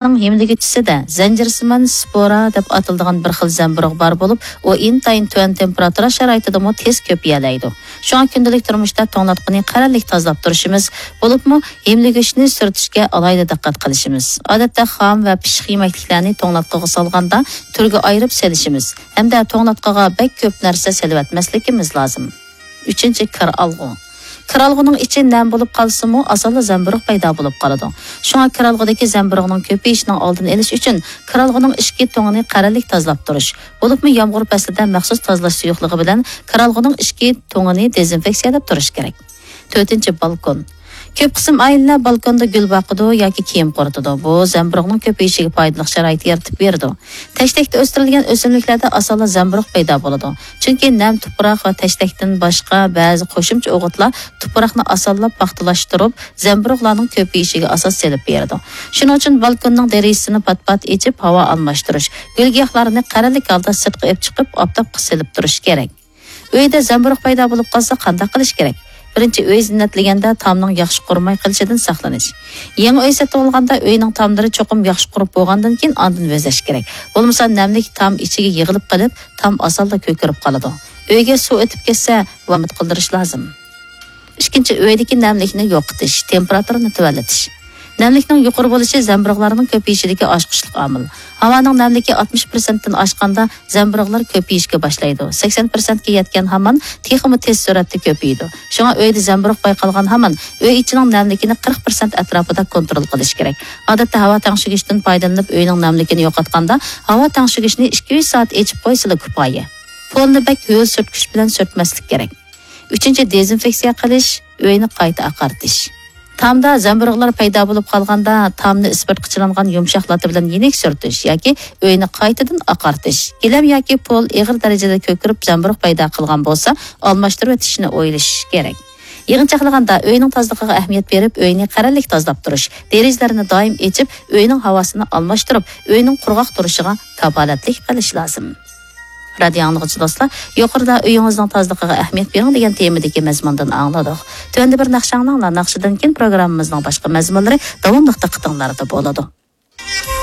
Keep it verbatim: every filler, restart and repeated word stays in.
ھىملىگۈچىسىدە زەنجىرسىمان سپورا دەپ ئاتىلىدىغان بىر خىل زەمبۇرۇغ بار بولۇپ، ئۇ ئىنتايىن تۆۋەن تېمپېراتۇرا شارائىتىدىمۇ تېز كۆپىيەلەيدۇ. شۇڭا كۈندىلىك تۇرمۇشتا توڭلاتقۇنى قەرەللىك تازىلاپ تۇرۇشىمىز، بولۇپمۇ ھىملىگۈچنى سۈرتۈشكە ئالاھىدە دىققەت قىلىشىمىز. ئادەتتە خام ۋە پىششىق يېمەكلىكلەرنى توڭلاتقۇغا سالغاندا تۈرگە ئايرىپ سېلىشىمىز ھەمدە توڭلاتقۇغا بەك كۆپ نەرسە سېلىۋەتمەسلىكىمىز لازىم. ئۈچىنچى، كىر ئالغۇ. كىر ئالغۇنىڭ ئىچى نەم بولۇپ قالسىمۇ، ئاسانلا زەمبۇرۇغ پەيدا بولۇپ قالىدۇ. شۇڭا كىر ئالغۇدىكى زەمبۇرۇغنىڭ كۆپىيىشىنىڭ ئالدىنى ئېلىش ئۈچۈن، كىر ئالغۇنىڭ ئىچكى تۇڭىنى قەرەللىك تازىلاپ تۇرۇش، بولۇپمۇ يامغۇر پەسلىدە مەخسۇس تازىلاش سۇيۇقلۇقى بىلەن كىر ئالغۇنىڭ ئىچكى تۇڭىنى دېزىنفېكسىيەلەپ تۇرۇش كېرەك. تۆتىنچى، بالكون. كۆپ قىسىم ئائىلىلەر بالكوندا گۈل باقىدۇ ياكى كىيىم قۇرۇتىدۇ. بۇ زەمبۇرۇغنىڭ كۆپىيىشىگە پايدىلىق شارائىت يارىتىپ بېرىدۇ. تەشتەكتە ئۆستۈرۈلگەن ئۆسۈملۈكلەردە ئاسانلا زەمبۇرۇغ پەيدا بولىدۇ. چۈنكى نەم تۇپراق ۋە تەشتەكتىن باشقا بەزى قوشۇمچە ئوغۇتلار تۇپراقنى ئاسانلا پاختىلاشتۇرۇپ، زەمبۇرۇغلارنىڭ كۆپىيىشىگە ئاساس سېلىپ بېرىدۇ. شۇنىڭ ئۈچۈن بالكوننىڭ دېرىزىسىنى پات-پات ئېچىپ، ھاۋا ئالماشتۇرۇش، گۈل-گىياھلارنى قەرەللىك ھالدا سىرتقا ئېلىپ چىقىپ، ئاپتاپقا سېلىپ تۇرۇش كېرەك. ئۆيدە زەمبۇرۇغ پەيدا بولۇپ قالسا، قانداق قىلىش كېرەك؟ بىرىنچى، ئۆي زىننەتلىگەندە تامنىڭ ياخشى قۇرۇماي قېلىشىدىن ساقلىنىش. يېڭى ئۆي سېتىۋالغاندا ئۆينىڭ تاملىرى چوقۇم ياخشى قۇرۇپ بولغاندىن كېيىن ئاندىن بېزەش كېرەك. بولمىسا نەملىك تام ئىچىگە يىغىلىپ قېلىپ، تام ئاسانلا كۆكىرىپ قالىدۇ. ئۆيگە سۇ ئۆتۈپ كەتسە، ئۈمىد قىلدۇرۇش لازىم. ئىككىنچى، ئۆيدىكى نەملىكنى يوقىتىش، تېمپېراتۇرىنى تۆۋەنلىتىش. نەملىكنىڭ يۇقىرى بولۇشى زەمبۇرۇغلارنىڭ كۆپىيىشىدىكى ئاچقۇچلۇق ئامىل. ھاۋانىڭ نەملىكى ئاتمىش پىرسەنتتىن ئاشقاندا زەمبۇرۇغلار كۆپىيىشكە باشلايدۇ. سەكسەن پىرسەنتكە يەتكەن ھامان تېخىمۇ تېز سۈرئەتتە كۆپىيىدۇ. شۇڭا ئۆيدە زەمبۇرۇغ بايقالغان ھامان ئۆي ئىچىنىڭ نەملىكىنى قىرىق پىرسەنت ئەتراپىدا كونترول قىلىش كېرەك. ئادەتتە ھاۋا تەڭشىگۈچتىن پايدىلىنىپ ئۆينىڭ نەملىكىنى يوقاتقاندا، ھاۋا تەڭشىگۈچنى ئىككى ئۈچ سائەت ئېچىپ قويسىلا كۇپايە. پولنى بەك ھۆل سۈرتكۈچ بىلەن سۈرتمەسلىك كېرەك. ئۈچىنچى، دېزىنفېكسىيە قىلىش، ئۆينى قايتا ئاقارتىش. تامدا زەمبۇرۇغلار پەيدا بولۇپ قالغاندا، تامنى ئىسپىرتقا چىلانغان يۇمشاق لاتا بىلەن يېنىك سۈرتۈش ياكى ئۆينى قايتىدىن ئاقارتىش. گىلەم ياكى پول ئېغىر دەرىجىدە كۆكىرىپ زەمبۇرۇغ پەيدا قىلغان بولسا، ئالماشتۇرۇۋېتىشنى ئويلىشىش كېرەك. يىغىنچاقلىغاندا، ئۆينىڭ تازىلىقىغا ئەھمىيەت بېرىپ، ئۆينى قەرەللىك تازىلاپ تۇرۇش، دېرىزىلەرنى دائىم ئېچىپ، ئۆينىڭ ھاۋاسىنى ئالماشتۇرۇپ، ئۆينىڭ قۇرغاق تۇرۇشىغا كاپالەتلىك قىلىش لازىم. رادىئو ئاڭلىغۇچى دوستلار، يۇقىرىدا ئۆيىڭىزنىڭ تازىلىقىغا ئەھمىيەت بېرىڭ دېگەن تېمىدىكى مەزمۇندىن ئاڭلىدۇق. تۆۋەندە بىر ناخشا ئاڭلاڭلار، ناخشىدىن كېيىن پروگراممىمىزنىڭ باشقا مەزمۇنلىرى داۋاملىق دىققىتىڭلاردا بولىدۇ.